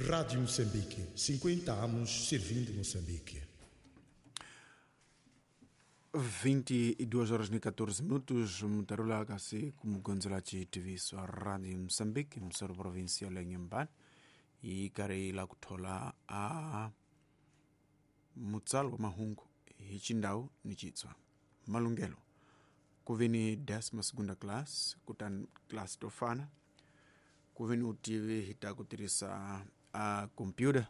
Rádio Moçambique, 50 anos servindo Moçambique. 22 horas e 14 minutos, mutarula kasi kumugonzela chitiviso a Radio Moçambique, msoro provincial ya Inhambane, yi karhi la kuthola a mutsalo wa mahungu hi chindhawu ni chitswa malunghelo ku ve ni décima segunda class kutani class to fana ku ve ni utivi hi ta ku tirhisa a computer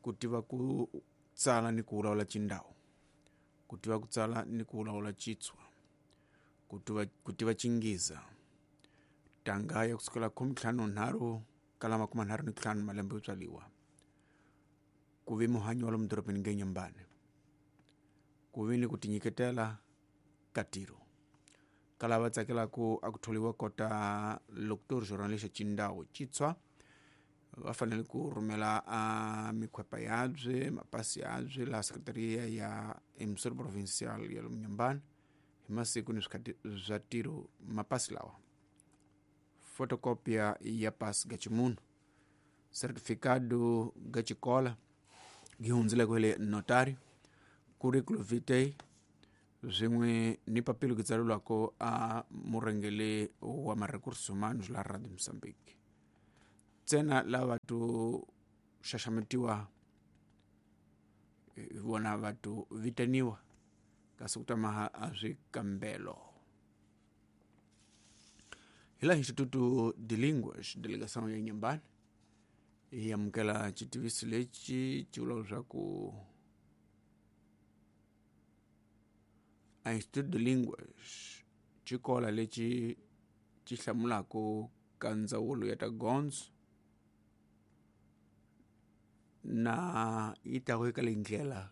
ku tiva ku tsala ni ku vulavula chindhawu ku tiva ku tsala ni ku vulavula chitswa ku tiva chingiza tanga ya kusukela 53 kala 35 malembe yo tswaliwa ku ve muhanyi wa lomu dorobeni nge Inhambane ku ve ni ku tinyiketela ka tiro ka lava tsakelaku a ku tholiwa kota locutor journalist chindhawu chitswa va fanele ku rhumela a mikhwepa yabye mapasi yabye laha sekretariya ya emisoro provincial ya lomu Inhambane hi masiku ni swikhati swa tiro mapasi lawa fotokopia ya pasi ga ximunhu certificado ga xikola gi hundzileko hi le notary curriculum vitae swin'we ni papilo ki tsalelwako a murhengeli wa ma-recursos humanos la Radio Moçambique ntsena lava to xaxametiwa hi vona va to vitaniwa kasi ku ta maha a swikambelo hi laha Instituto de Línguas delegação ya Inhambane yi amukela xitiviso lexi xi vulaka leswaku a Instituto de Línguas xikola lexi xi hlamulaka ka ndzawulo ya ta gondzo na yi ta eka leyi ndlela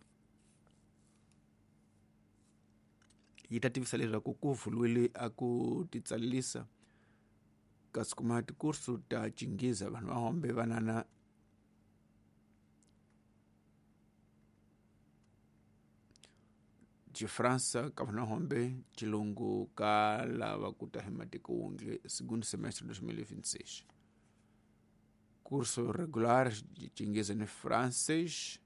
yi ta tivisa leswaku ku vuriwile a ku titsalisa kasi kuma tikursu ta chingiza vanhu va hombe vanana Xifransa ka vanhu va hombe xilungu ka lava ku ta hi matiko wonge segundo semestre 2026 curso regular chingiza ni francês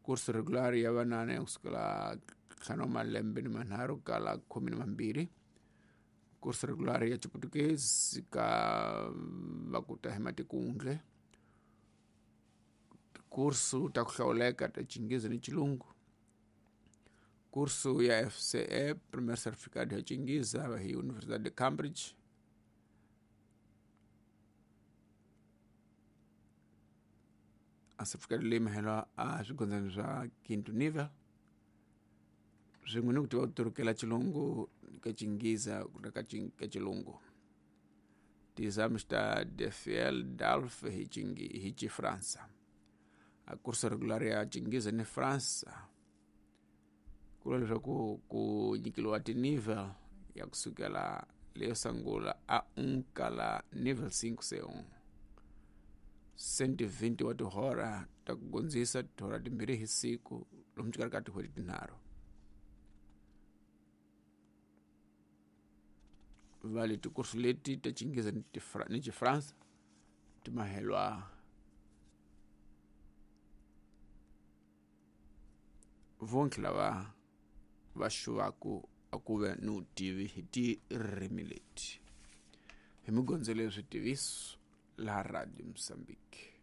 curso regular ya vanana ya kusukela ntlhanu wa malembe ni manharhu kala 12 curso regular ya Chiportuguese ka va ku ta hi matikundle curso ta ku hlawuleka ta Chingiza ni Chilungu curso ya FCE primeiro certificado ya Chingiza hi Universidade de Cambridge a certificado leyi mahelwa a swigondzani swa quinto nível swin'we ni ku tiva ku turukela Chilungu ka Chingiza na ka Chilungu ti-exames ta DFL DALF hi hi Xifransa a curso regular ya Chingiza ni Fransa ku vula leswaku ku nyikeliwa ti-nivel ya kusukela leyo sungula a 1 kala nivel 5 C1 120 wa tihora ta ku gondzisa tihora timbirhi hi siku lomu xikarhi ka tin'hweti tinharhu va le tikursu leti ta Chingiza ni Xifransa ti mahelwa vonke lava va xuvaku a ku ve ni vutivi hi tirimi leti hi migondzelo ya switiviso laha Radio Moçambique.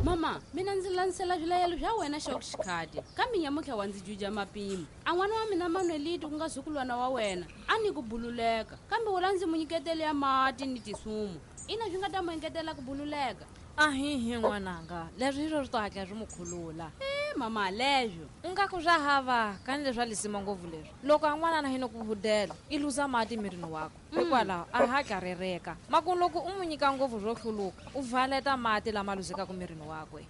Mama, mina ndzi landzela swilayelo swa wena xa xikhati kambe nyamutlha wa ndzi juja mapimo a n'wana wa mina Manuelito ku nga zukulwana wa wena a ni ku bululeka kambe wula ndzi mu nyiketele ya mati ni tisumu ina swi nga ta mu engetela ku bululeka ahihi n'wananga leswi hi swo swi to hatla swi mu khulula mama leswo u nga ku swa hava kani leswa lisima ngopfu leswi loko a n'wanana hi no ku hudela i luza mati mirini wakwe hikwalaho a hatla rereka maku loko u n'wi nyika ngopfu swo hluluka u valeta mati lama luzekaka mirini wakwe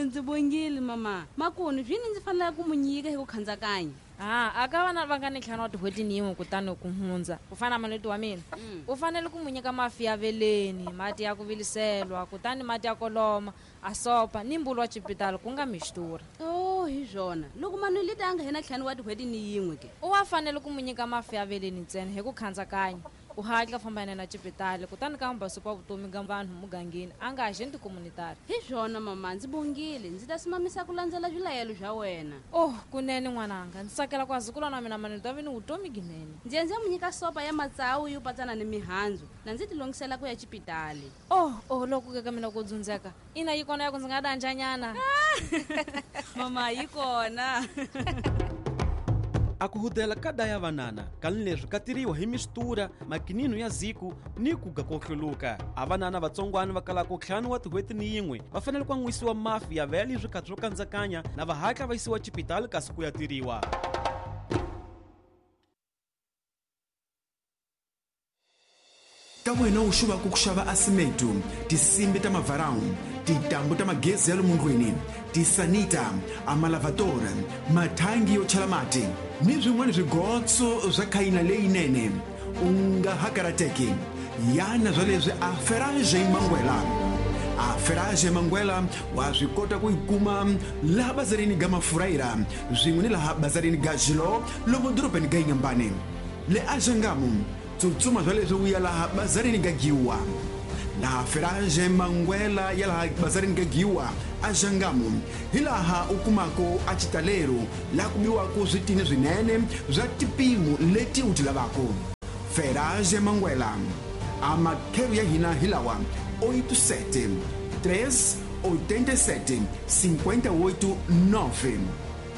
ndzi bongile mama makuni swini ndzi fanele ku mu nyika hi ku khandzakanya a aka vana va nga ni ntlhanu wa tin'hweti ni yin'we kutani ku hundza ku fana na Manuelito wa mina u fanele ku mu nyika mafi ya veleni mati ya ku viliselwa kutani mati ya koloma a sopa ni mbulu wa chipitalo ku nga mixtura. Oh. Oh hi swona loko Manuelita a nga hena 5 wa tin'hweti ni yin'we ke u wa fanele ku mu nyika mafi ya veleni ntsena hi ku khandzakanya u hatla famba yena na xipitali kutani ka mbasupa vutomi ga vanhu mugangeni a nga agente communitary. Hi swona mama, ndzi bongile, ndzi ta simamisa ku landzela swilayelo swa wena. Oh kunene n'wananga, ndzi tsakela ku azukulwana wa mina Manuelita va ve ni vutomi ginene. Ndzi endze mu nyika sopa ya matsawu yo patsana ni mihandzu na ndzi tilongisela ku ya xipitali. Oh loko ke ka mina ku dzundzeka ina yi kona ya ku ndzi nga danjanyana. Mama yi kona. A ku hudela ka daya vanana kani leswi ka tiriwa hi mistura makinino ya ziku ni ku ga ko hluluka. A vanana vatsongwana va kalaka 5 wa tin'hweti ni yin'we va fanele ku an'wisiwa mafi ya vele swikhathi swo kandzakanya na va hatla va yisiwa xipitali kasi ku ya tiriwa. Ka wena u xuvaka ku xava asimeto, tinsimbi ta mavarawu, tintambu ta magezi ya lomu ndlwini, tisanita, amalavatory, mathangi yo chela mati ni swin'wana swigotso swa khayina leyinene, u nga ha karateki. Yana swa leswi a Ferrage Mangwela. A Ferrage Mangwela wa swi kota ku yi kuma laha bazarini ga Mafurayira swin'we ni laha bazarini ga Jilo lomu dorobeni ga Inhambane. Le a Xangamu tsutsuma swa leswi u ya laha bazarini ga Giwa. Laha Ferrage Mangwela ya laha bazarini ga Giwa a Xangamu hi laha u kumako a xitalero laha ku biwako switini swinene swa tipimo leti u ti lavako. Ferrage Mangwela a makhelo ya hina hi lawa 87 3 87 58 9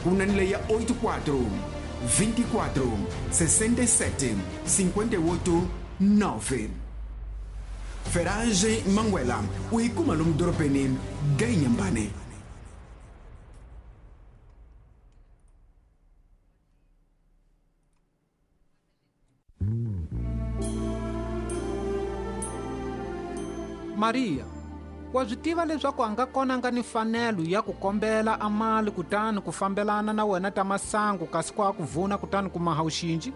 kuna ni leya 84 24 67 58 9. Ferrage Mangwela u yi kuma lomu dorobeni ga Inhambane. Maria, wa swi tiva leswaku a nga kona nga ni fanelo ya ku kombela amali kutani ku fambelana na wena ta masangu kasi ku a ku vuna kutani ku maha uxinji?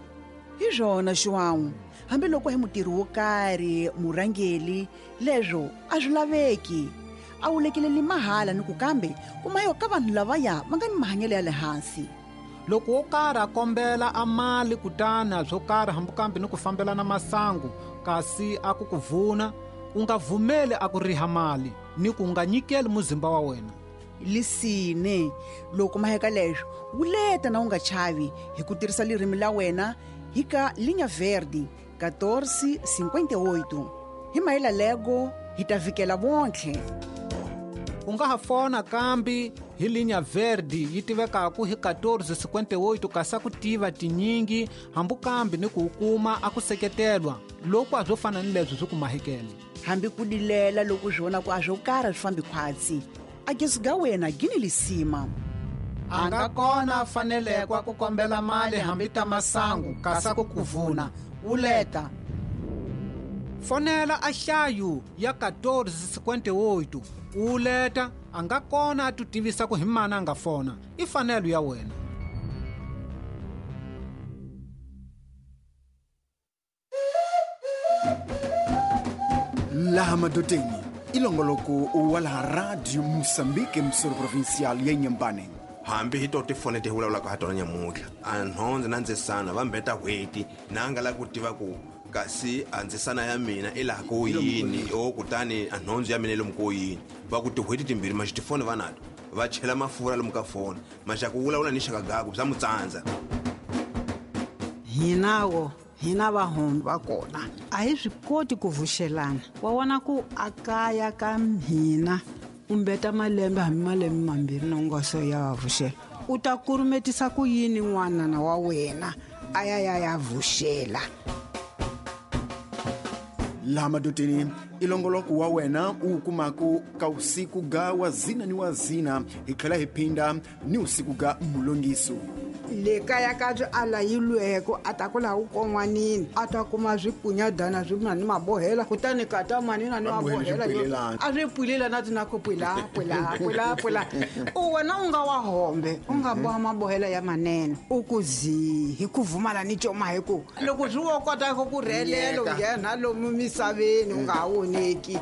Hi swona Xiwawu, hambiloko hi mutirhi wo karhi murhangeli leswo a swi laveki. A wu lekeleli mahala ni ku kambe kuma yo ka vanhu lavaya va nga ni mahanyelo ya le hansi. Loko wo karhi a kombela amali kutani swo karhi hambikambe ni ku fambelana masangu kasi a ku ku vuna, u nga vumeli a ku riha mali ni ku nga nyikeli muzimba wa wena. Lisine loko maheka leswo wuleta na u nga chavi hi ku tirhisa lirimi la wena hi ka Linha Verde 1458. Hi mayela lego hi ta vikela vontlhe. U nga ha fona kambi hi Linha Verde yi tivekaku hi 1458 kasi ku tiva tinyingi hambi kambi ni ku kuma a ku seketelwa loko a swo fana ni leswi swi ku mahekele. Hambi ku dilela loko swi vona ku a swo karhi swi fambi khwatsi, a gezi ga wena gini lisima. A nga kona fanelekwa ku kombela mali hambi ta masangu kasi ku kuvuna uleta. Fonela a hlayu ya 1458 uleta, a nga kona a tutivisa ku hi mana a nga fona, i fanelo ya wena. Laha madoteni ilongoloko wa laha Radio Moçambique msoro provincial ya Inhambane. Hambi hi to tifone ti vulavulaka ha tona nyamuntlha a nhondze na ndzisana va mbeta hweti na nga la ku tiva ku kasi a ndzisana ya mina i laha ko yini o kutani a nhondze ya mina i lomu ko yini. Va ku tihweti timbirhi maxi tifoni va nato va chela mafurha lomu ka foni maxa ku vulavula ni xaka gaku bya mutsandza. Hinawo hina vahombi va kona a hi swi koti ku vuxelana. Wa vona ku a kaya ka hina u mbeta malembe hambi malembe mambirhi na ungaso ya va vuxela, u ta kurumetisa ku yini n'wanana wa wena a ya ya ya vuxela. Laha madoteni ilongoloko wa wena u kumako ka usiku ga wazina ni wazina hi tlhela hi phinda ni usiku ga mulongiso. Le kaya ka byi alayilweko a ta ku laha u kon'wanini a ta kuma swikunyadana swi na ni mabohela kutani ka ta manina ni mabohela a swi pwilela na ti na ku pwila pwila pwila pwila. U wena u nga wa hombe u nga boha mabohela ya manene u ku zi hi ku vumala ni coma hi ku loko swi wo kota ku rhelela u nghena lomu misaveni u nga ha voneki.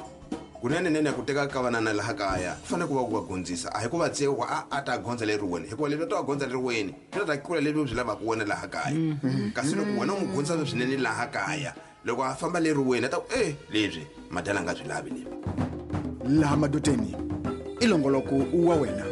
Kunene nene ku teka ka vanana laha kaya ku fanele ku va ku va gondzisa, a hi ku va tseka ku a ta gondza leriweni, hikuva leswi a ta va gondza leriweni swi ta ta kula leswi u swi lavaka wena laha kaya. Kasi loko wena u n'wi gondzisa swinene laha kaya, loko a famba leriweni a ta ku e leswi madala a nga swi lavi leswi. Laha madoteni i longoloko wa wena.